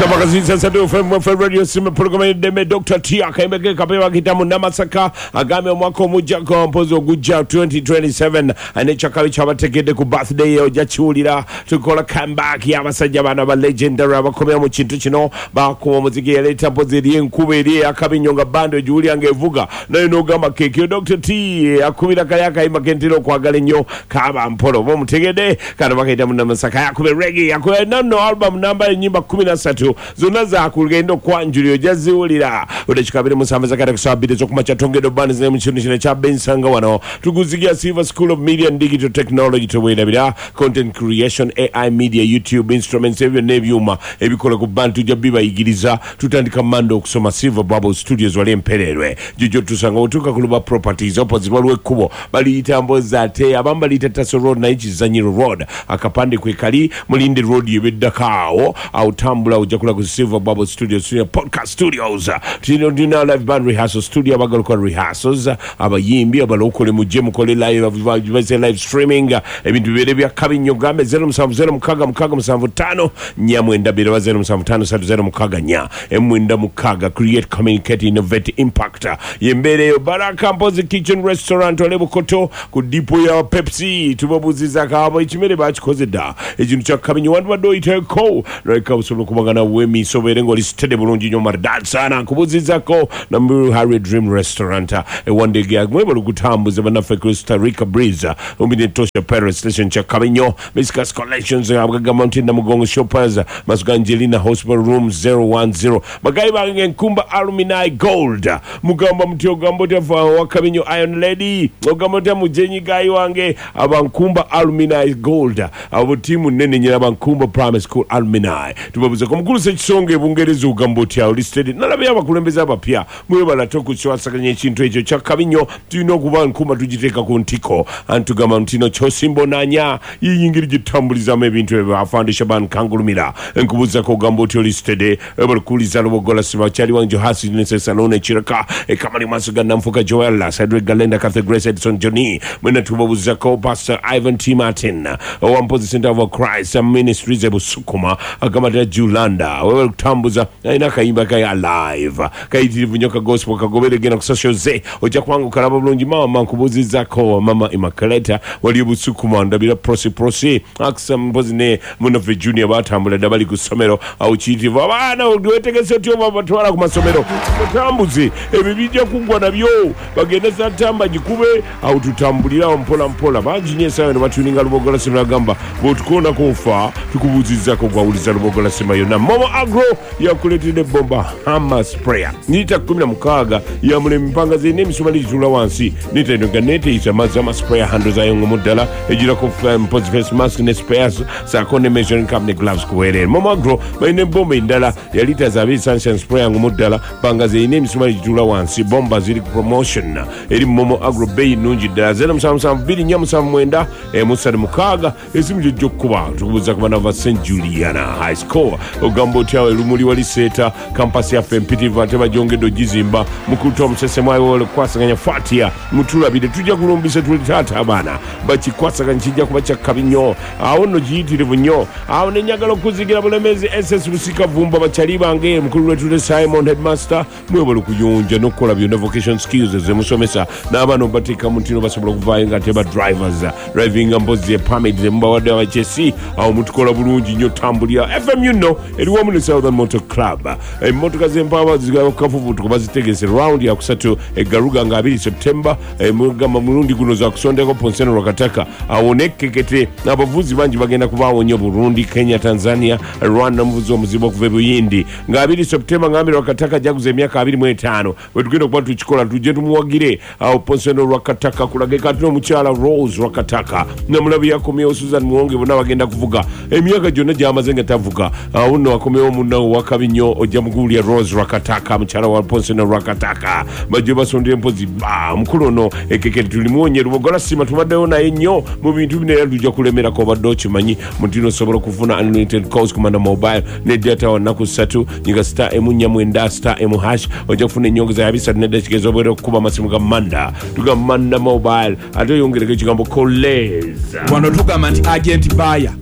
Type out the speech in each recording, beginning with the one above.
Radio Simba program y'eddembe Dr. T akayimba ke kapya bakiyita Munnamasaka agambye omwaka omujja mpozi ogujja 2027 n'ekyakabi kyabategedde ku birthday ye ojja kiwulira. Tukola comeback y'abasajja bano aba legendary abakomera mu kintu kino, bakuba omuziki yaleeta mpozi eri enkuba eri eyakabi nnyo nga bando egiwulira ng'evuga naye n'ogamba keekyo. Dr. T akubira kali akayimba kentera okwagala ennyo kaba mpola oba omutegedde. Kano bakayita Munnamasaka, yakube reggae, yakube nonno album namba ennyimba 13 zonna zakugenda okwanjulira, ojja ziwulira. Odakika 27 zakata ku 2 ez'okumakya tongedde obanize mu kintu kino ekya Bensanga. Wano tuguzigira Silver School of Media and Digital Technology, teweerabira content creation, AI media, YouTube instruments, ebyo byonna ebyuma ebikola ku bantu tujja bibayigiriza. Tutandika Manda okusoma. Silver Bubble Studios wali empererwe jojo tusanga otuuka ku Luba Properties opposite, waliwo ekkubo baliyita mbozi, ate abamu baliyita Taso Road naye Kizanyiro Road, akapande kwe kali mulinde road yebeddako awo awo tambula ojja kula ku Silver Bubble Studios. Tulina podcast studios, tulina live band rehearsal studio, abagala okukola rehearsals, abayimbi abalokole mujje mukole live, baze live streaming, ebintu bibeere bya kabi nnyo. Gambe 0706667592 oba 0753066496. Create, communicate, innovate, impact yembeera eyo. Baraka Mpozi Kitchen Restaurant ole Bukoto ku depot ya Pepsi, tubabuuzizako abo ekimere bakikoze dda, ekintu kya kabinyo wandibadde oyiteeko leka osobola okubagana wemiisa obeere ng'oli steady bulungi nnyo maridadi sana. Nkubuuzizako Namuru Harry Dream Restaurant ewandege, mwebale okutambuza bannaffe Costa Rica Breeze umbi Tosha Paris Station kya kabinyo. Miscas Collections Abgaga Mountain Namugongo Shoppers Masuga Angelina Hospital Room 010. Bagayi bange Nkumba Alumni Gold, mugamba muti ogamba otya wakabinyo Iron Lady, ogamba otya mujenyi gayi wange abankumba Alumni Gold, abo tiimu nene nyina abankumba Primary School Alumni. Tubabuze mukulu Sekisonga ebungereza, ogamba otya oli steady? Nalabye abakulembeze abapya, mwebala tokukiwasaganya ekintu ekyo kyakabinyo. Tulina okuba Nkumba tugiteeka ku ntiko antugamba ntino kyosimbonanya yiyingiri gitambulizamu ebintu ebyo. Afande Shaban Kangulumira nkubuuzako, ogamba otya oli steady? Balikuliza Lubogola Sibakyali wange Johasi Nesesalone Kiraka ekamali maaso ga Nanfuka Joel Cedric Galenda Cathy Grace Edson Johnny mwena tubabuuzako. Pastor Ivan T Martin owampozi Center of Christ Ministries ebusukuma agamba tya Julanda wewe kutambuza alina akayimba kaye alive kayitirivu nnyo ka gospel kagobere, genda ku social ze ojja kubanga okalaba bulungi. Mama nkubuuzizako mama Imakaleta wali obusukuma ndabira prosi prosi akisa mpozi ne munaffe Junior batambula dda bali ku ssomero awo kiyitirivu. Abaana wetegese otyo batwala ku masomero mutambuzi, ebyo bijja kuggwa nabyo bagende satamba gikube awo tutambulirawo mpola mpola. Bangi nnyo esaawa eno batuninga Lubogola Sima, agamba bw'otukoonako ofa tukubuuzizako gwawuliza Lubogola Sima yonna. Momo Agro yakuleetedde bomba hama sprayer lita 16 yamula emipanga zirina emisumali gituula wansi netenoga neteyisa amazzi ama sprayer handle zayo ngomu ddala egirako mpozi face mask ne spares saako ne measuring cup ne gloves kuweerere. Momo Agro balina ebomba endala ya lita 2 sunshine sprayer ngomu ddala panga zirina emisumali gituula wansi. Bomba ziri ku promotion eri Momo Agro, beeyi nnungi ddala. 077247 36 esimu gyojja okukuba. Tukubuuza ku bana ba St Juliana High School, ogamba otya erumuli wali seeta campus yaffe empitirivu ate bagyongedde ogizimba. Mukulu Tom Sesemwayo okukwasaganya Fatia mutulabire, tujja kulumbisa tuli taata abaana bakikwasaganya kijja kuba kyakkabi nnyo awo nno kiyitirivu nnyo awo. Nenjagala okuzigira Bulemezi SS Busika Vumba bakyali bange mukulu lwetule Simon headmaster mwebale okuyonja n'okukola byonna vocation skills zemusomesa n'abaana obateeka mu ntino basobola okuvaayo nga teba drivers driving mpozi permit zemubawadde abachesi awo mutukola bulungi nnyo. Tambulira FMU nno eri wamu ne Southern Motor Club, emmotoka z'empaaba zikafubutuko bazitegese round yakusatu egaruga nga 2 September. Mugamba mulundi guno zakusondeko Ponseno Lwakataka awo nekkekete abavuzi bangi bagenda kubaawo nnyo, Burundi, Kenya, Tanzania, Rwanda, omuvuzi omuzibu okuva e Buyindi nga 2 September ngambire Lwakataka jaguza emyaka 25 bwe tugenda okuba tukikola tujje tumuwagire awo Ponseno Lwakataka kulage kati n'omukyala Rose Lwakataka namulabi yakomyewo Susan Muwonge bonna bagenda kuvuga emyaka gyonna gyamaze nga tavuga. Awo nno akomyewo munnawo wakabi nnyo ojja mukuwulya Rose Lwakataka mukyala wa Ponseno Lwakataka bajje basondera empozi ba omukulu ono ekekere tulimuwonye. Lubogola Sima tubaddewo naye nnyo mu bintu bino era tujja kulemerako. Obadde okimanyi mutino osobola okufuna unlimited calls ku Manda Mobile ne data wa nnaku 3? Nyiga star 4 9 star emu hash ojja kufuna ennyongeza ya 3 neddakiika ez'obwere okukuba amasimu ga Manda. Tugamba Manda Mobile ate oyongereko ekigambo koleza. Wano tugamba nti agent baya.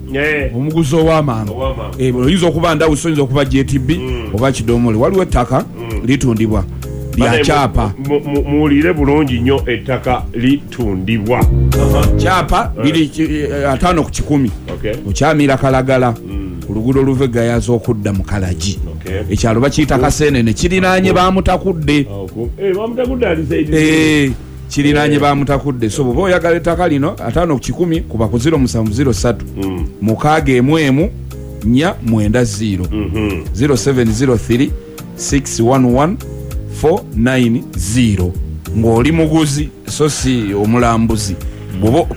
Omuguzi ow'amangu. Ow'amangu. Oyinza okuba ndawusi, oyinza okuba JTB oba kidomole. Waliwo ettaka litundibwa lya kyapa. Muwulire bulungi nnyo, ettaka litundibwa. Kyapa liri 50 ku 100. Okyamira Kalagala ku luguudo oluva eGayaza okudda mu Kalagi. Ekyalo bakiyita Kasenene, kirinaanye Bamutakudde. Bamutakudde ali side. Kirinaanye Bamutakudde. So bwoba oyagala ettaka lino, 50 ku 100, kuba ku 0703 6 1 4 90, 0703 611 490, ng'oli muguzi so si omulambuzi.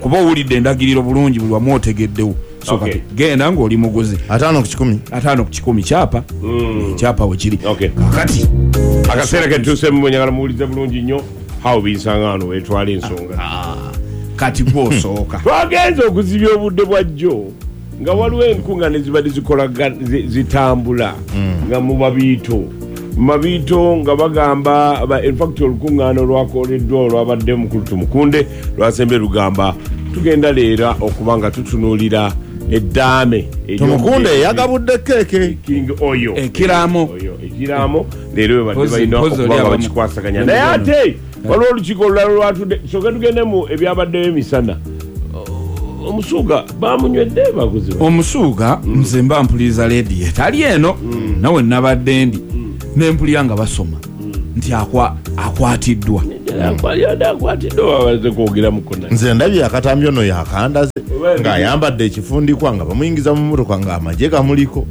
Kuba owulidde endagiriro bulungi, buli wamu otegeddewo. So kati genda ng'oli muguzi. 50 ku 100. 50 ku 100, kyapa. Kyapa wekiri. Kakati Akaseera ketuusemu, mwenyagala muwulize bulungi nnyo hawo binsanga wano wetwala ensonga. Kati gwosooka. Twagenze okuzibya obudde bwa jjo nga waliwo enkuŋŋaana ezibadde zitambula nga mu Mabiito, mu Mabiito nga bagamba infact olukuŋŋaana olwakoleddwa olwabadde mukulu Tumukunde lwasembye lugamba tugenda leera okuba nga tutunuulira eddaame Tumukunde yagabudde keeke. King Oyo. Ekiraamo. Oyo ekiraamo leero bwe badde balina mpozi okuba oli nga bakikwasaganya, naye ate waliwo olukiiko olulala lwatudde. Soke tugende mu ebyabaddeyo emisana. Omusuuga bamunywedde bakuziba. Omusuuga, nze mba mpuliriza leediyo etali eno, nawe nabadde ndi nempulira nga basoma nti akwatiddwa. Yadde akwatiddwa, babaze kwogeramuko naye. Nze ndabye akatambi ono yakandaze ng'ayambadde ekifundikwa nga bamuyingiza mu motoka ng'amagye gamuliko.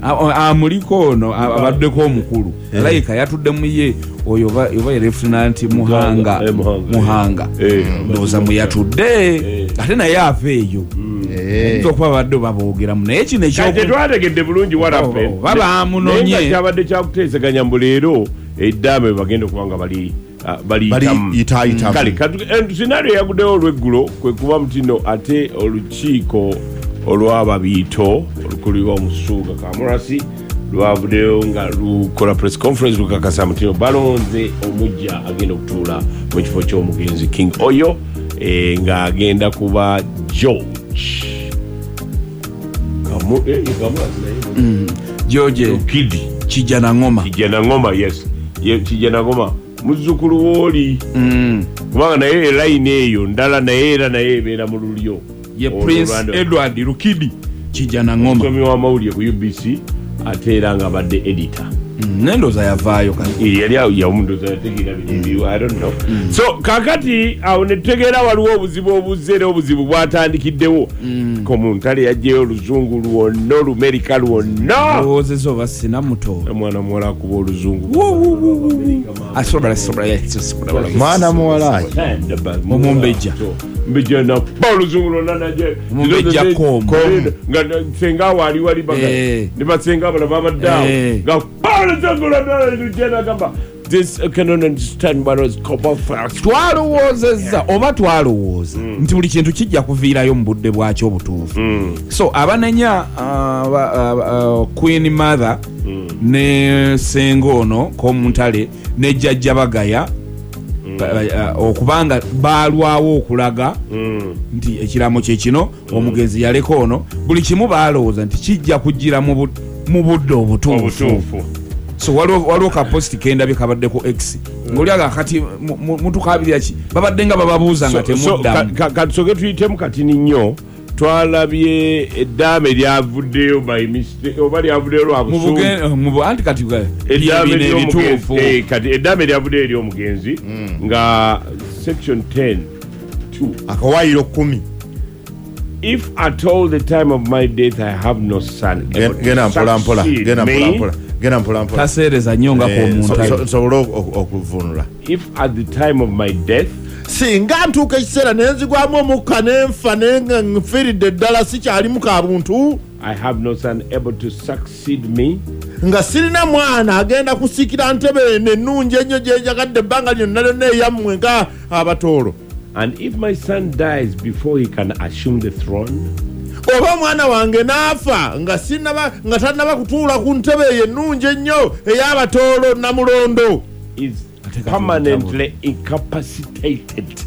Amuliko ono abaddeko omukulu alayika yatudde mu ye oyo oba ye Lieutenant Muhanga. Muhanga. Muhanga. Ndowooza mwe yatudde, ate naye ava eyo. Ayinza okuba babadde baboogeramu, naye kino Kati tetwategedde bulungi what happened. Oba bamunonye. Naye nga kyabadde kyakuteeseganya mbu leero eddaame bagenda okuba nga bali baliyitamu. Baliyitaayitamu. Kale scenario yaguddewo olweggulo kwe kuba mutino ate olukiiko olw'Ababiito olukulirwa omusuuga Kamurasi lwavuddeyo nga lukola press conference, lukakasa mutino balonze omujja agenda okutuula mu kifo ky'omugenzi King Oyo, ng'agenda kuba George Kamurasi naye George Kidi Kijja na Ngoma. Kijja na Ngoma, yes. Ye Kijja na Ngoma muzzukulu wooli, kubanga naye elayini eyo ndala, naye era naye ebeera mu lulyo. Ye Olwo Prince Rwanda. Edward Rukidi Kijja na Ngoma. Omusomi w'amawulire ku UBC, ate era nga abadde editor. Nendowooza yavaayo kati. Yali awo yamundoza yategeera bino ebiriwo, I don't know. So kakati awo netutegeera waliwo obuzibu obuzze, era obuzibu bwatandikiddewo komuntale yajjayo oluzungu lwonna, olumerika lwonna. Ndowoozeza oba sina muto. Omwana muwala akuba oluzungu. Mwana muwala. Omumbejja. Mbejja nakuba oluzungu lwonna naje. Omumbejja kom. Nga senga waali wali baga ne basenga abala babadde awo nga kuba oluzungu lwonna lujja nagamba this, I cannot understand what was called first. Twalowoozezza oba twalowooza nti buli kintu kijja kuviirayo mu budde bwakyo obutuufu. So abanenya Queen Mother ne senga ono Komuntale ne jjajja Bagaya okubanga baalwawo okulaga nti ekiramo kye kino, omugenzi yaleka ono, buli kimu baalowooza nti kijja kujjira mu budde obutuufu. Obutuufu. So waliwo ka post kendabye kabadde ku X ng'olyaga kati mutukabirira ki, babadde nga bababuuza nga temuddamu. Katusoke tuyitemu katini nnyo. Twalabye eddaame lyavuddeyo by mistake oba lyavuddeyo lwa Mu busungu. anti kati Eddaame bino ly'omugenzi, ebituufu. Kati eddaame lyavuddeyo ery'omugenzi nga section 10 2. Akawaayiro 10. If at all the time of my death I have no son able to Genda mpola mpola, succeed genda mpola me, mpola, genda mpola mpola. Taseereza nnyo nga kwomuntale. Nsobole okuvunula. If at the time of my death, singa ntuuka ekiseera ne nzigwamu omukka ne nfa ne nga nfiiridde ddala sikyalimu ka buntu, I have no son able to succeed me, nga sirina mwana agenda kusikira ntebe eno ennungi ennyo gye njagadde ebbanga lyonna lyonna eyammwe nga Abatoolo, and if my son dies before he can assume the throne, oba omwana wange n'afa nga sinnaba, nga tannaba kutuula ku ntebe eyo ennungi ennyo ey'Abatoolo Namulondo, is Ate kati permanently incapacitated.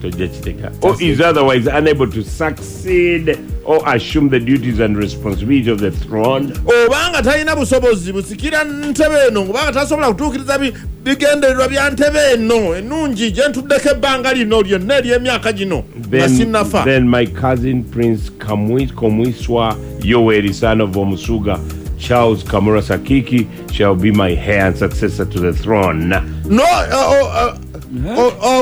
Tojja kiteka. Or is otherwise unable to succeed or assume the duties and responsibility of the throne. Obanga talina busobozi busikira ntebe eno, kubanga tasobola kutuukiriza bigendererwa bya ntebe eno ennungi gye ntuddeko ebbanga lino lyonna ery'emyaka gino nga sinnafa. Then my cousin Prince Komwiswa Yoweri, son of Omusuga Charles Kamura Sakiki, shall be my heir and successor to the throne. No,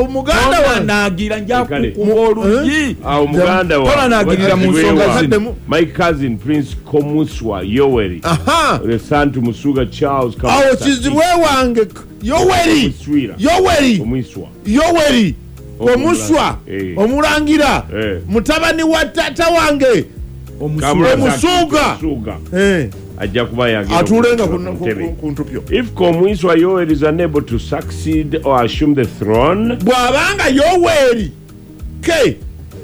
muganda wange nagira nja kukuba oluyi. Awo muganda wange Tolanagirira mu nsonga zino. My cousin Prince Komuswa Yoweri, the son to Musuga Charles Kamura awo Sakiki. Kizibwe wange Yoweri Yoweri Komwiswa Yoweri Komuswa omulangira mutabani wa tata wange Omusuga ajja kuba yagenda atuulenga ku ntupyo. If Komwiswa Yoweri is unable to succeed or assume the throne, bw'abanga Yoweri ke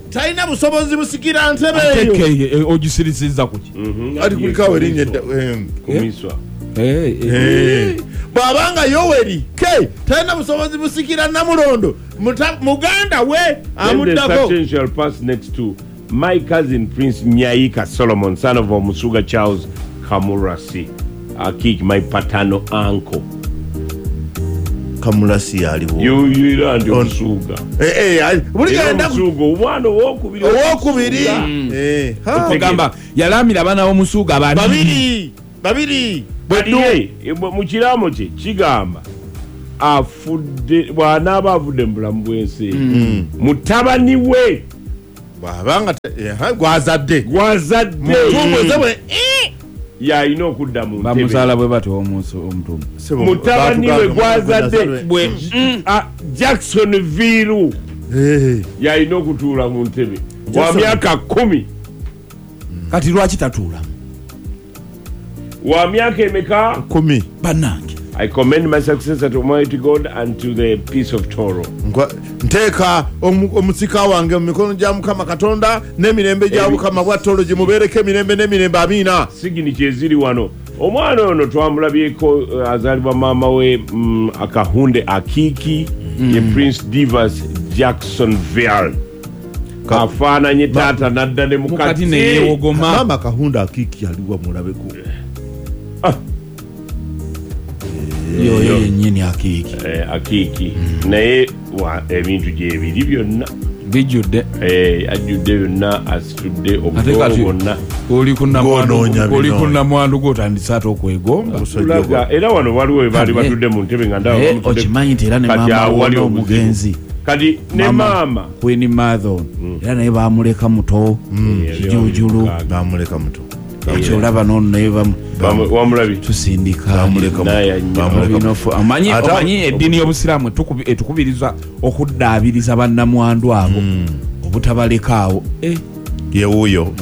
talina busobozi busikira ntebe eyo ogisirisiza kuki ati kulikawo erinnya Komwiswa bw'abanga Yoweri ke talina busobozi busikira Namulondo, muganda we amuddako. The shall pass next to my cousin Prince Nyaika Solomon, son of Omusuga Charles Kamurasi Akiki, my paternal uncle. Kamurasi aliwo. You and Omusuga. Buli Omusuga omwana owokubiri. Owokubiri. Ogamba yalamira abaana b'Omusuga babiri. Babiri. Bwe mu kiramo kye kigamba afudde bw'anaaba avudde mu bulamu bw'ensi mutabani we bw'abanga gwazadde gwazadde yalina okudda mu ntebe. Bamuzaala bwe batyo omutumu mutabani we gwazadde bwe Jackson Viru yalina okutuula mu ntebe wa myaka 10. Kati lwaki tatuulamu? Wa myaka emeka? 10. Bannange. I commend my successor to Almighty God and to the peace of Toro. Nteeka omusika wange mu mikono gya Mukama Katonda n'emirembe gya Mukama bwa Toro gimubeereko emirembe n'emirembe, amiina. Sigini eziri wano. Omwana ono twamulabyeko azaalibwa maama we Akahunde Akiki ye Prince Divas Jacksonville. Afaananye taata nadda ne mukati neyewogoma. Maama Akahunde Akiki aliwa mulabeko. Yoyo yennyini Akiki. Akiki naye ebintu gyebiri byonna bijjudde. Ajjudde byonna, asitudde obutolo bwonna. Oli ku nnamwandu gw'otandise ate okwegomba. Era wano waliwo baali batudde mu ntebe nga ndaba. Okimanyi nti era ne maama wali omugenzi. Kati ne maama Queen Mother era naye baamuleka muto kijujulu. Baamuleka muto. Kati olaba n'ono naye wamulabi tusindika omanyi eddiini y'obusiraamu etukubiriza okuddaabiriza bannamwandu abo obutabalekaawo. Yewuuyo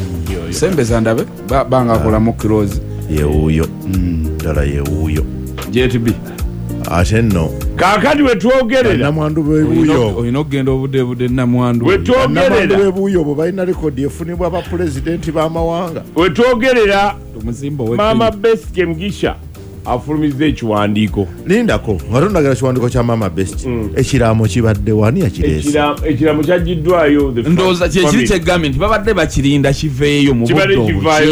sembeza ndabe banga akolamu close. Yewuuyo ddala yewuuyo JTB. Ate nno kaakati wetwogerera namwandu b'ebuuyo olina okugenda obudde namwandu wetwogerera b'ebuuyo bwe balina rekodi efunibwa bapulezidenti b'amawanga. Wetwogerera Maama Best Mugisha afulumizza ekiwandiiko. Lindako nga tondagala kiwandiiko kya Maama Best. Ekiraamo kibadde wani yakireese? Ekiraamo kyaggiddwayo. Ndowooza kyekiri kyegambye nti babadde bakirinda kiveeyo mu budde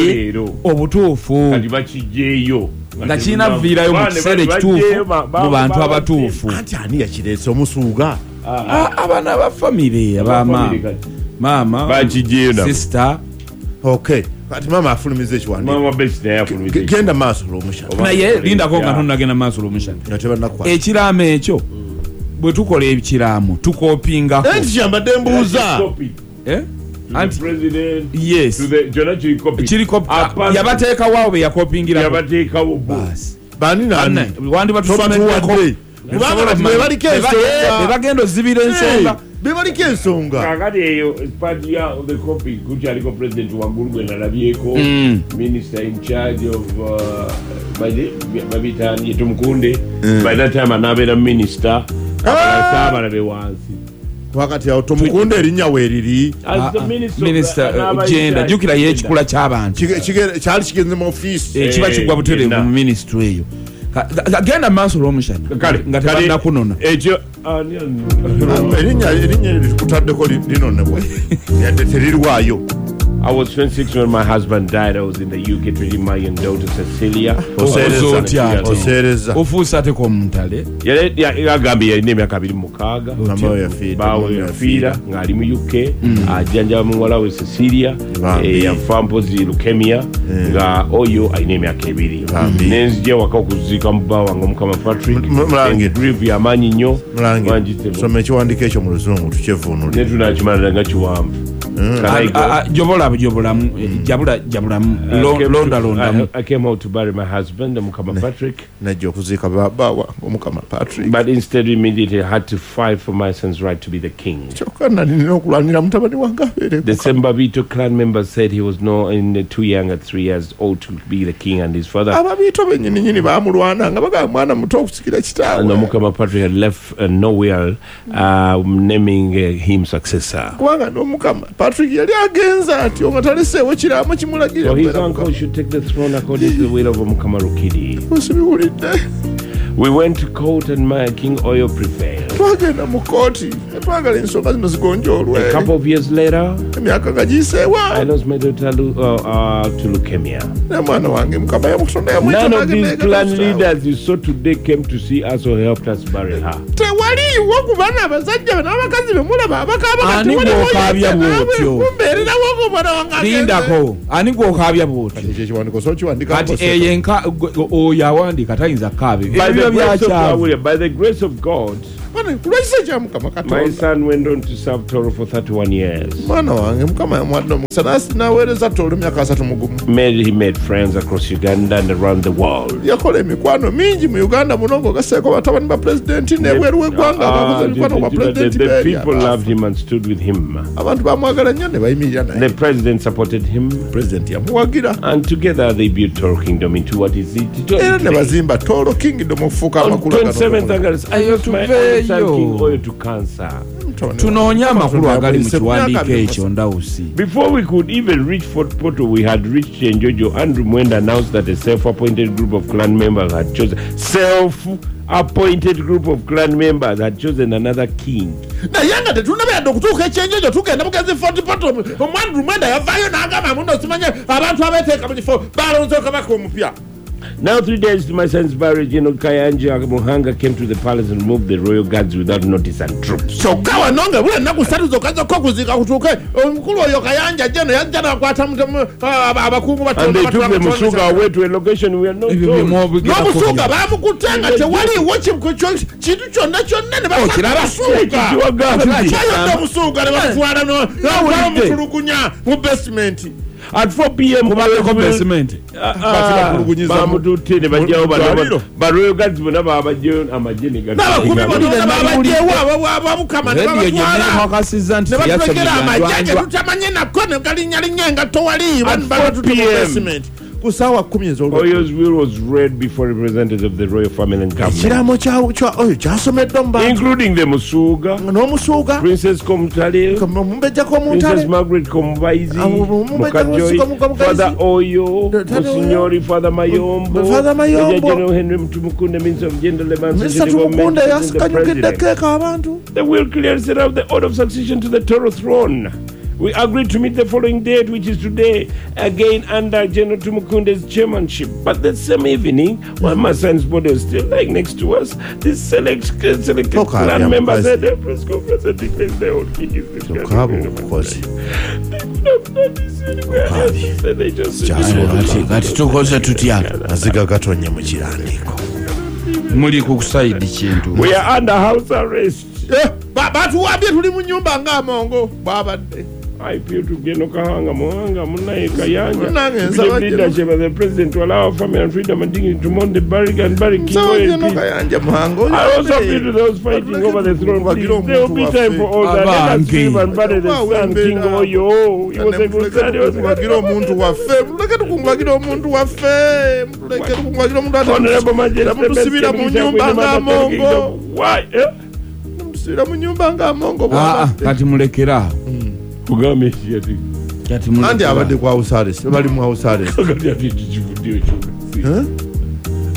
leero obutuufu. Kati bakigyeyo nga kirina viirayo mu kiseera ekituufu mu bantu abatuufu. Anti ani yakireese? Omusuuga? Abaana ba famire abamaama maama bakigyeyo sister. Okay. Kati maama afulumiza ekiwandiiko. Maama Best naye afulumiza. Genda maaso olw'omushana. Naye lindako nga tonnagenda maaso olw'omushana. Ekiraamo ekyo bwe tukola ekiraamo tukopingako. Anti kyambadde mbuuza. Anti president. Yes. To the jona chiri copy. Chiri copy. Yabateekawo awo be yakopingira. Yabateekawo basi. Bani nani? Wandi batusomeddeko. Kubanga bebaliko ensonga. Bebagenda ozibira ensonga. Bebaliko ensonga. Kakati eyo part ya the copy kukyaliko president waggulu gwe nalabyeko. Minister in charge of babitani Tumukunde. By that time anabeera minister. Abalala be wansi. Wakati awo Tumukunde erinnya weeriri. Minister gender jjukira ye ekikula ky'abantu. Kyali kigenze mu office. Kiba kigwa butereevu mu ministry eyo. Genda maaso olw'omushana Kale, nga kale, tebannakunona. Ekyo Erinnya eryo tukutaddeko linonebwa yadde terirwayo. I was 26 when my husband died. I was in the UK treating my young daughter Cecilia. Oseereza. Otya ate? Oseereza. Ofuuse ate komuntale. Yagambye yalina emyaka 26. Mama we yafiira. Baawe yafiira ng'ali mu UK ajjanjaba muwala we Cecilia. Bambi. Yafa mpozi leukemia nga oyo alina emyaka 2. Bambi. Nenzija waka okuziika mu bba wange Omukama Patrick. Mulangira. Grief yamaanyi nnyo. Mulangira, Wangi soma ekiwandiiko ekyo mu luzungu tukyevuunulire. Ne tunakimala nga kiwanvu. Can I go? Jobola jobolamu, jabula jabulamu, londa londamu. I came out to bury my husband, Mukama Patrick, Najja okuziika baba wange Omukama Patrick, but instead immediately had to fight for my son's right to be the king. Kyokka nali nina okulwanira mutabani wange abeere. The Sembabito clan member said he was no in too young at 3 years old to be the king, and his father Ababiito bennyininyini baamulwana nga bagamba mwana muto okusikira and kitaawe. Mukama Patrick had left no will naming him successor. Kubanga n'Omukama Patrick yali agenze atyo nga taleseewo kiraamo kimulagira So his okubeera uncle Mukama. should take the throne according to the will of Mukama Rukidi. Sibiwulidde. We went to court and my King Oyo prevailed. Twagenda mu kooti twagala ensonga zino zigonjoolwe. A couple of years later, Emyaka nga giyiseewa, I lost my daughter to leukemia. ne mwana wange Mukama yamutonda yamuyita None of nange these negenda clan kitaawe. leaders you saw today came to see us or helped us bury her. Tewaliiwo ku baana abasajja be n'abakazi be mulaba abakaaba. Ani gw'okaabya bw'otyo? Kumbeererawo ng'omwana wange agenze. Lindako, ani gwokaabya bwotyo? Ekyo ekiwandiiko so kiwandika. Kati eyo enka oyo awandiika tayinza kukaaba By ebyo the grace of byakyavu. God, by the grace of God, Kulwekisa ekya Mukama my Katonda, son went on to serve Toro for 31 years. mwana wange Mukama yamuwadde omukisa n'aweereza Toolo emyaka 31. He made friends across Uganda and around the world. Yakola emikwano mingi mu Uganda muno ng'ogaseeko batabani ba pulezidenti n'ebweru w'eggwanga abakoze emikwano kwa pulezidenti The beeri people abaafa. loved him and stood with him. Abantu bamwagala nnyo ne bayimirira The naye. president supported him, Pulezidenti yamuwagira, and together they built Toro Kingdom into what is it today. era ne bazimba Toolo Kingdom okufuuka On amakulu agano. 27th August, I lost my only son, King Oyo, to cancer. Tunoonye amakulu agali mu kiwandiiko ekyo ndawusi. Before we could even reach Fort Portal, we had reached Chenjojo. Andrew Mwenda announced that a self-appointed group of clan members had chosen self-appointed group of clan members had chosen another king. Naye nga tetunaba yadde okutuuka ekyenjojo, tugenda bugenzi Fort Portal, omwandru Mwenda yavaayo n'agamba muno simanye abantu abeeteeka mu kifo balonze kabaka omupya. Now, 3 days to my son's marriage, General Kayanja Muhanga came to the palace and removed the royal guards without notice and troops. Kyokka wano nga bula ennaku 3 zokka zokka okuziika kutuuke, omukulu oyo Kayanja jeno yajja n'akwata abakungu. And they took the Musuga away to a location we are not Ebyo told. byemwogerako. N'omusuuga bamukutte nga tewaliiwo kintu kyonna kyonna ne Okiraba? bamusuuga kyayodde omusuuga ne bamutwala Nawulidde. bamutulugunya mu basement. At 4 p.m., Kubaddeko basement. Batibakulugunyiza bamututte ne bajjawo mu ddwaliro. ba royal guards bonna babajjayo amagye ne N'abakuumi gatuuka. bonna babajjewo ababukama ne Rediyo babatwala gyenekakasizza nti ne batulekera amagye ge teyasomera. tutamanye nako ne galinyalinnya engatto wali. At 4 Batutute mu p.m. basement ku ssaawa 10 ez'olweggulo. Oyo's will was read before representatives of the royal family and government, Ekiraamo kya oyo kyasomeddwa mu bantu, including the Musuga, n'omusuuga, Princess Komutale, omumbejja Princess k'omuntale, Margaret Komubaizi, Omumbejja Mukajoi, Mukajoi, Father Oyo, Tata Monsignori Father Mayombo, Father Mayombo. Major General Henry Mtumukunde, Minister of Gender, Labour and Mr. Social Development, Tumukunde and the yasikanyukidde President. keeka abantu. The will clearly set out the order of succession to the Toro throne. We agreed to meet the following date, which is today, again under General Tumukunde's chairmanship. But the same evening, while my son's body was still lying next to us, this selected Toka clan ya members mukazi. had a press conference and declared their own king is the Tokaaba omukozi. They could have done this anywhere else. And they just Kati tukoze tutya? Maziga gatonye mu kirandiiko. Muli ku sayidi kintu. We are under house arrest. Eh, batuwambye tuli mu nyumba ng'amongo bwabadde. I appeal to Geno Kahanga Muhanga Munaye Kayanja, Munange nsaba the leadership of the president to allow our family and freedom and dignity to mourn the Barrick and Barrick King Nsaba Oil Geno peace. Kayanja Muhanga. I also appeal to those fighting over the throne. Please, there will be time for all that. Let us grieve and bury the son, King Oyo. He was a good son. He was a Tukungubagire good omuntu waffe, muleke tukungubagire omuntu waffe, muleke tukungubagire omuntu ate Honorable Majesty, Temutusibira mu nyumba ng'amongo. Why? Eh? Temutusibira mu nyumba ng'amongo Ah, ah, bwabadde. kati mulekeraawo. Kugambye ki ati? Kati mulekere Anti awo. abadde ku house arrest, bali mu house arrest. Kati ati kivuddeyo kyokka.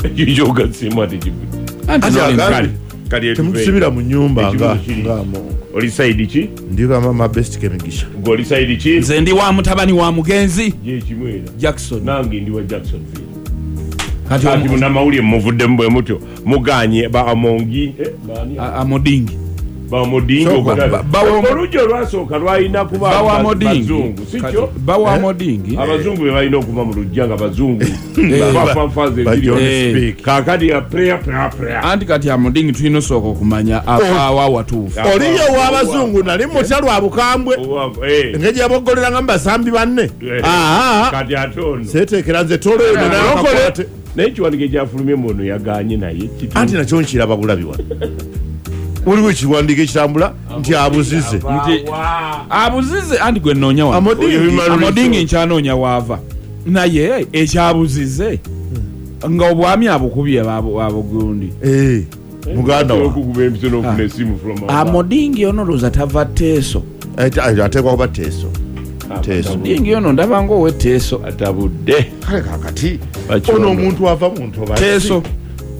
Ekyo kyogaseemu ate kivudde. Anti Anti noli- agambye- Kale, kali Temutusibira mu nyumba Ekibuzo nga kiri. nga mu- Oli side ki? Ndi mama Best Kemigisha. Gwe oli side ki? Nze ndi wa mutabani wa mugenzi Gyekimu era. Jackson. Nange ndi wa Jacksonville. Kati Kati munnamawulire muvuddemu bwe mutyo muganye ba Amongi, baani? Amodingi. Bamodingi. Sooka. Oluggi olwasooka lwalina kuba Bawa Amodingi. bazungu, si kyo? Bawa Amodingi. Abazungu be balina okuva mu lujja nga bazungu bafanfaza Ba ebiri. John Speak. Kaakati ya prayer, prayer, prayer. Anti kati Amodingi tulina osooka okumanya avaawa watuufu. Oliyo ow'abazungu nali mutya lwa bukambwe. Engeri yaboggolera mu basambi banne. Aa, Kati ate ono seeteekera nze tolo eno Alokole. naye. Naye ekiwandiiko ekyafulumye mu ono yaganye naye Anti nakyo nkiraba bulabi wano. Waliwo ekiwandiiko ekitambula nti abuzize. Nti abuzize, anti gwe nnoonya wano. Amodingi. Amodingi nkyanoonya waava, naye ekyabuzize nga obwami abukubye abugundi. Eh, muganda wa okukuba empiso n'okufuna esimu from above. Amodingi ono looza tava Teeso. Ateekwa kuba Teeso. Teeso. Amodingi ono ndaba nga ow'eteeso. Atabudde. Kale kakati Bakyono. ono omuntu ava mu ntobazi. Teeso.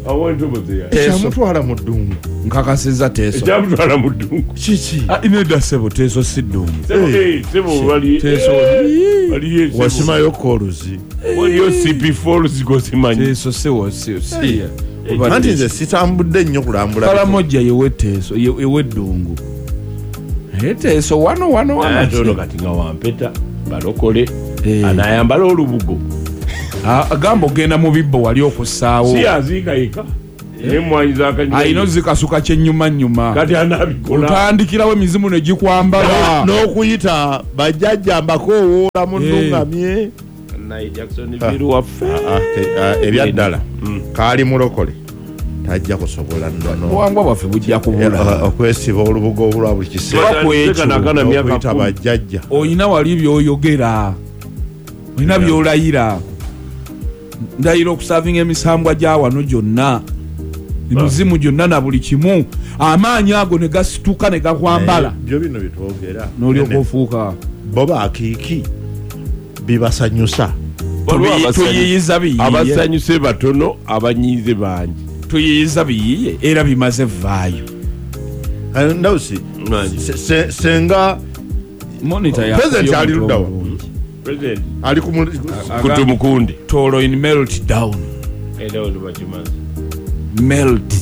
Awo entobo ze yali. Teeso. Ekyamutwala mu ddungu Nkakasiza Teeso. Ekyamutwala mu ddungu. Kiki? Ah, nedda ssebo, Teeso si ddungu. Sebo, sebo, Teeso. waliyo sebo. Wasimayo koluzi. Waliyo CP Falls gosimanyi. Teeso siwo si. Anti nze sitambudde nnyo kulambula. Kalamojja yeweteeso eweddungu, naye Teeso wano wano wano. Ate ono kati nga wampeta balokole Eh. anayambala olubugo. Ah, gamba ogenda mu bibbo wali okussaawo. Si aziika yeka nemwanyi Alina zakanywa. ozikasuka kyenyumanyuma. Kati anabikola. Otandikirawo emizimu ne gikwambala. N'okuyita bajjajja mbakoowoola munnungamye. Naye Jacksonville waffe. Ebyaddala kaali mulokole tajja kusobola nnono Obuwangwa bwaffe bujja kubula. Okwesiba olubugo olwa buli kiseera. Oba ku ekyo, Kanakana myaka N'okuyita 10. bajjajja. Olina wali byoyogera, olina byolayira. Ndayira okusavinga emisambwa gya wano gyonna, emizimu gyonna na buli kimu, amaanyi ago ne gasituka ne gakwambala. Naye byo bino byetwogera N'olyoka ofuuka. Bo bakiiki bibasanyusa. Waliwo Tuyiyiza biyiye. Abasanyuse batono, abanyiize bangi. Tuyiyiza biyiye era bimaze vaayo. Ndawusi Nangi. senga Monitor ya- President ali ludda wa? obulungi. President Ali ku kutumukundi. Tolo in melt down. Era ono bakimaze. Melt.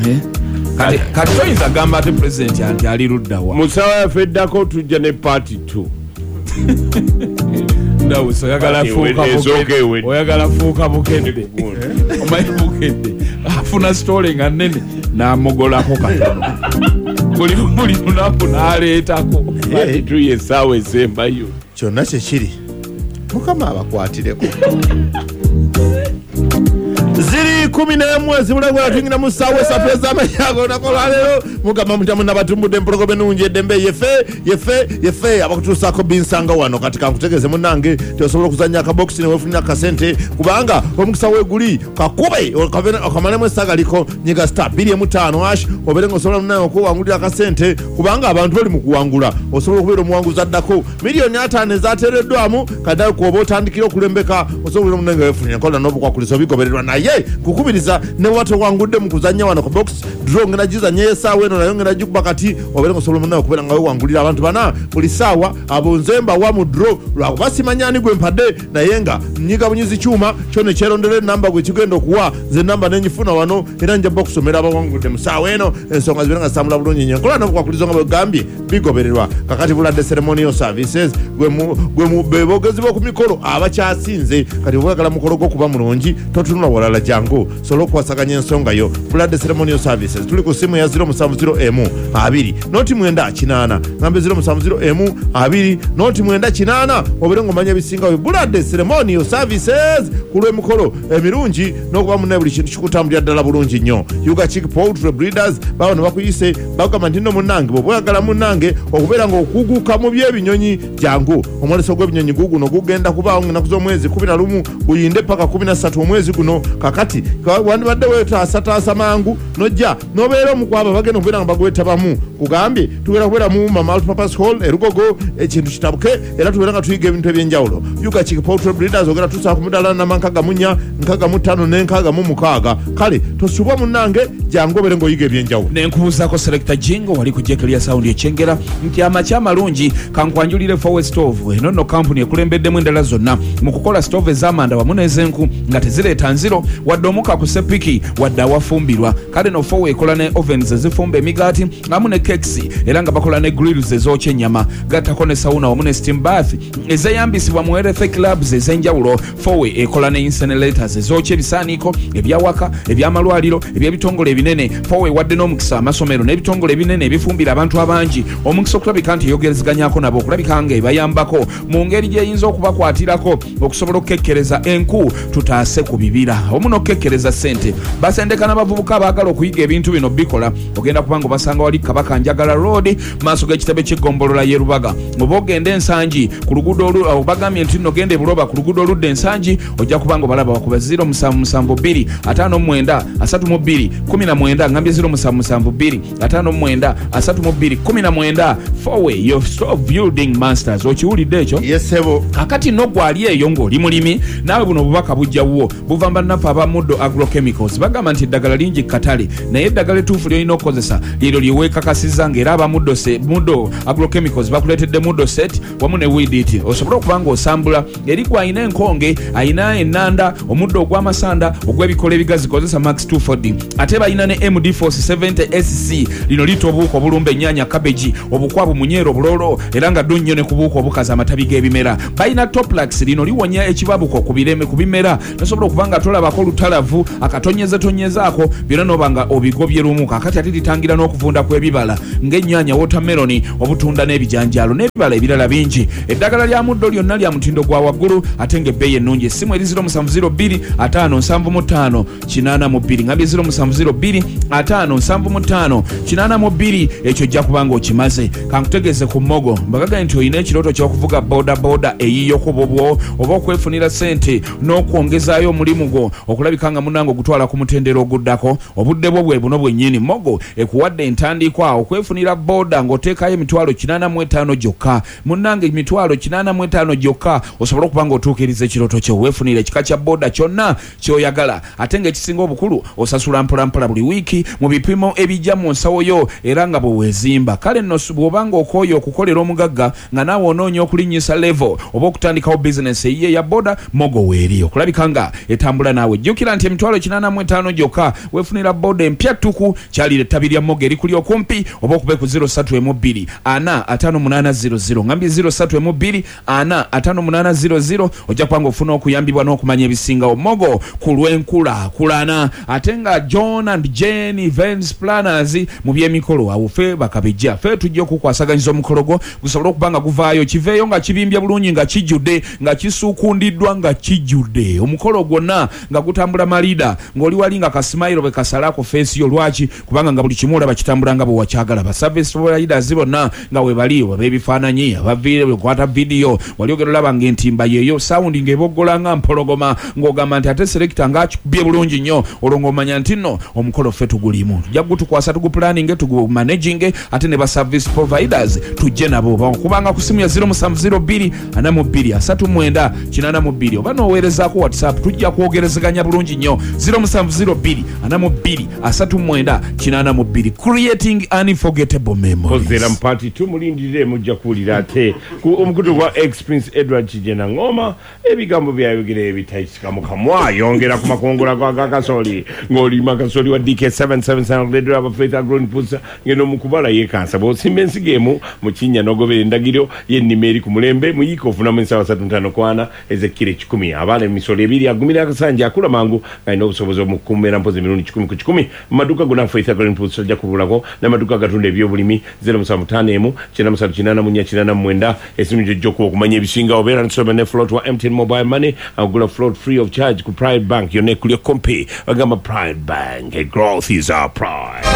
Eh? Kati toyinza gamba ate pulezidenti anti ali luddawa. Mu ssaawa yaffe eddako tujja ne paati 2. Ndawusi oyagala Ati fuuka esooka Bukedde. ewedde. Oyagala fuuka Bukedde. Omanyi Bukedde afuna sitole nga nnene n'amugolako katono buli lunaku n'aleetako. Paati 2 yessaawa esembayo. Kyonna kyekiri mukama abakwatireko. Ziri 11 ezibulagula tuyingira mu ssaawa esatu ez'amanyago olunaku olwaleero. Mugamba mutya munabatumbudde empologoma ennungi eddembe yefe yefe yefe abakutuusaako binsanga wano. Kati kankutegeeze munnange ti osobola okuzannya akabokisi neweefunira akasente kubanga omukisa weeguli kakube okamalemu essagaliko. Nyiga star 25 ash obeere nga osobola munnange okwewangulira akasente kubanga abantu bali mu kuwangula. Osobola okubeera omuwanguzi addako miliyoni 50 ezateereddwamu kaddayo kwoba otandikira okulembeka osobola okubeera munnange weefunira enkola n'obukwakulizo bigobererwa. Naye nkukubiriza ne bw'oba towangudde mu kuzannya wano ku box draw ngenda gizannya essaawa eno nayo ngenda gikuba kati obeere nga osobola munnawe okubeera nga wewangulira abantu bana buli ssaawa. Abo nze mbawa mu draw lwakuba simanya ani gwe mpadde naye nga nyiga bunyizi kyuma kyo ne kyerondera enamba gwe kigenda okuwa. Nze enamba nenyifuna wano era nja bba okusomera abawangudde mu ssaawa eno ensonga zibeere nga zitambula bulungi nnyo. Enkola n'obukwakulizo nga bwegambye bigobererwa. Kakati Buladde Ceremonial Services be boogezi b'oku mikolo abakyasinze. Kati oba oyagala mukolo gw'okuba mulungi totunula walala, jangu sobola okukwasaganya ensonga yo. Buladde Ceremonial Services tuli ku simu ya 070 m 2 noti 9 8 ngambe 070 m 2 noti 9 8 obeere ng'omanya ebisingawo. Buladde Ceremonial Services ku lw'emikolo emirungi n'okuba munnaye buli kintu kikutambulira ddala bulungi nnyo. Yuga Chick Poultry Breeders bawano bakuyise bagamba nti nno munnange bw'oba oyagala munnange okubeera ng'okuguka mu by'ebinyonyi jangu omwoleso gw'ebinyonyi guguno gugenda kubaawo ng'ennaku z'omwezi 11 guyinde paka 13 omwezi guno. Kakati wandibadde weetaasataasa mangu nojja n'obeera omu ku abo bagenda okubeera nga bagwetabamu Kugambye tugenda kubeera mu Wuma Multipurpose Hall e Lugogo, ekintu kitabuke era tubeera nga tuyiga ebintu ebyenjawulo. Ugachik Poultry Breeders ogenda tusaa ku mudaala namba 64, 65 ne 66. Kale tosubwa munnange, jangu obeere ng'oyiga ebyenjawulo. Nenkubuuzaako Selector Jingo wali ku Jekelia Sound ekyengera nti amakya amalungi, kankwanjulire Fowe Stove. Eno nno kampuni ekulembeddemu endala zonna mu kukola stove ez'amanda wamu n'ez'enku nga tezireeta nziro wadde omukka ku sepiki wadde awafumbirwa. Kale no Fowe ekola ne ovens ezifumba emigaati amu ne cakes, era nga bakola ne grills ezookya ennyama, gattako ne sauna wamu ne steam bath ezeyambisibwa mu health clubs ez'enjawulo. Fowe ekola ne incinerators ezookya ebisaaniiko ebyawaka, ebyamalwaliro, eby'ebitongole ebinene. Fowe wadde n'omukisa amasomero n'ebitongole ebinene ebifumbira abantu abangi omukisa okulabika nti eyogerezeganyako nabo, okulabika nga ebayambako mu ngeri gy'eyinza okubakwatirako okusobola okukekkereza enku tutaase ku bibira omu n'okukekkereza ssente. Basendeka n'abavubuka abaagala okuyiga ebintu bino bikola. Ogenda kubanga obasanga wali Kabaka Njagala Road, maaso g'ekitebe ky'eggombolola y'e Lubaga, oba ogenda Ensangi ku luguudo bagambye nti nno genda e Buloba ku luguudo oludda Ensangi, ojja kubanga obalaba. Bakuba 0772 59 32 19. Ngambye 0772 59 32 19. Fowe, your stove building masters. Okiwulidde ekyo? Yesebo. Kakati nno gwali eyo ng'oli mulimi naawe, buno obubaka bujja wuwo, buva bannaffe aba Muddo Agrochemicals. Bagamba nti eddagala lingi katale, naye eddagala ettuufu lyolina okukozesa lyeryo lye weekakasizza, ng'era aba Muddo Muddo Agrochemicals bakuleetedde Muddo Set wamu ne Weedit, osobole okuba ng'osambula eri gwe alina enkonge, alina ennanda, omuddo ogw'amasanda, ogw'ebikolo ebigazi, kozesa Max 240. Ate balina ne MD Force 70 SC, lino litta obuwuka obulumba ennyaanya, cabbage, obukwabu, munyeero, obulolo, era nga ddo nnyo ne ku buwuka obukaza amatabi g'ebimera. Balina Toplax, lino liwonya ekibabuko ku bireme ku bimera, nosobola okuba nga tolabako lutalavu akatonyeze-tonyezaako byonna noba nga obigobye lumu. Kakati ate litangira n'okuvunda kw'ebibala ng'ennyaanya, watermelon, obutunda n'ebijanjaalo n'ebibala ebirala bingi. Eddagala lya Muddo lyonna lya mutindo gwa waggulu ate ng'ebbeeyi ennungi. Essimu eri 0702 575 82. Ngambye 0702 575 82. Ekyo ojja kuba nga okimaze. Kankutegeeze ku Mogo, mbagagaye nti olina ekirooto ky'okuvuga boda boda eyiyo ku bubwo oba okwefunira ssente n'okwongezaayo omulimu gwo okulabika nga munnange ogutwala ku mutendera oguddako, obudde bwo bwe buno bwennyini. Mogo ekuwadde entandikwa okwefunira boda ng'oteekayo emitwalo 85 gyokka. Munnange, emitwalo 85 gyokka osobole okuba ng'otuukiriza ekirooto kyo, weefunira ekika kya boda kyonna ky'oyagala, ate ng'ekisinga obukulu osasula mpolampola buli wiiki mu bipimo ebijja mu nsawo yo era nga bwe weezimba. Kale nno bw'oba ng'okooye okukolera omugagga nga naawe onoonya okulinnyisa level oba okutandikawo bizinesi eyiye eya boda, Mogo weeri okulabika nga etambula naawe. Jjukira nti emitwalo 85 gyokka weefunira boda empya ttuku. Kyalira ettabi lya Mogo erikuli okumpi oba okube ku 03 4 58 00. Ngambye 03 4 58 00. Ojja kuba nga ofuna okuyambibwa n'okumanya ebisingawo. Mogo ku lw'enkulaakulana. Ate nga John and Jane Events Planners mu byemikolo, awo ffe bakabejja, ffe tujja okukwasaganyiza omukolo gwo gusobole okuba nga guvaayo, kiveeyo nga kibimbye bulungi, nga kijjudde, nga kisuukundiddwa, nga kijjudde, omukolo gwonna nga gutambula malida, ng'oli wali nga ka smile bwe kasala ku face yo. Lwaki? Kubanga nga buli kimu olaba kitambula nga bwe wakyagala. Ba service providers bonna nga we bali, ab'ebifaananyi, abakwata vidiyo, wali ogenda olaba ng'entimba yeeyo, sound ng'eboggola nga mpologoma, ng'ogamba nti ate selector ng'akikubye bulungi nnyo. Olwo ng'omanya nti nno omukolo ffe tugulimu, tujja gutukwasa, tuguplanninge, tugumanaginge, ate ne ba service providers tujje nabo. Bakubanga ku simu ya 0702 42 39 82, oba n'oweerezaako WhatsApp, tujja kwogerezeganya bulungi nnyo. 0702 42 39 82. Creating unforgettable memories. Kozera mu part 2, mulindirire, mujja kuwulira ate ku omukutu gwa ex Prince Edward Kijena Ngoma ebigambo byayogera ebitayisika mu kamwa. Yongera ku makungula gwa gakasoli ng'olima kasoli wa DK777 leader of Faith Agro Inputs, ngeno mu kubala yekansa bw'osimba ensigo emu mu kinnya n'ogobera endagiro y'ennima eri ku mulembe, mu yiika ofunamu ensawo 35 ez'ekkiro 100. Abaana emisolo ebiri agumira akasanja, akula mangu, ng'alina obusobozi omukumera mpozi emirundi 100 ku 100. Mu maduuka gonna Faith Agro Inputs ojja kubulako, n'amaduuka agatunda ebyobulimi. 0751 9384 89. Esimu gyojja okuba okumanya ebisingawo. Beera nsome ne float wa MTN Mobile Money, agula float free of charge ku Pride Bank yonna ekuli okumpi. Bagamba Pride Bank, growth is our pride.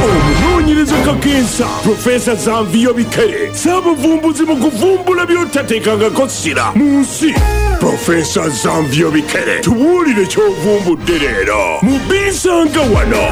Omunoonyereza kakensa Profesa Zanviyo Bikere, saabuvumbuzi mu kuvumbula by'otateekangako ssira mu nsi. Profesa Zanviyo Bikere, tubuulire ky'ovumbudde leero mu Binsanga wano.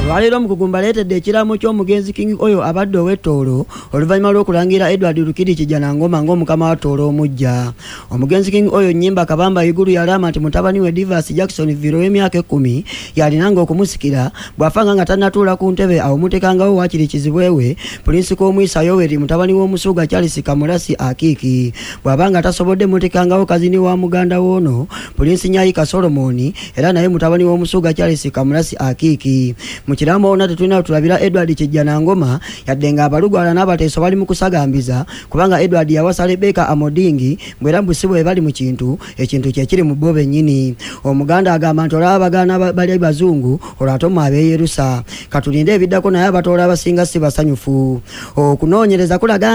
Olwaleero omukugu mbaleetedde ekiraamo ky'omugenzi King Oyo abadde ow'e Tooro oluvannyuma lw'okulangira Edward Rukidi Kijjanangoma ng'omukama wa Tooro omuggya. Omugenzi King Oyo Nnyimba Kabamba Iguru yalaama nti mutabani we Divas Jackson Viro w'emyaka 10 yalinanga okumusikira bw'afanga nga tannatuula ku ntebe, awo mutekangawo waakiri kizibwe we Prince Komwisa Yoweri, mutabani w'omusuuga Charles Kamurasi Akiiki. Bw'abanga tasobodde, mutekangawo kazini wa muganda w'ono Prince Nyayika Solomoni, era naye mutabani w'omusuuga Charles Kamurasi Akiiki. Mu kiraamo ona tetulina tulabira Edward Kijjanangoma, yadde ng'abalugwala n'abateeso bali mu kusagambiza kubanga Edward yawasa Rebeka Amodingi, bwera mbu si bwe bali mu kintu, ekintu kyekiri mu bo bennyini. Omuganda agamba nti olaba abagaana bali bazungu, olwo ate omwe abeeyerusa. Katulinde ebiddako, naye abatoola abasinga si basanyufu. Okunoonyereza kulaga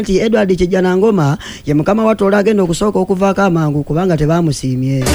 nti Edward Kijjanangoma ye mukama wa Tooro agenda okusooka okuvaako amangu kubanga tebamusiimye.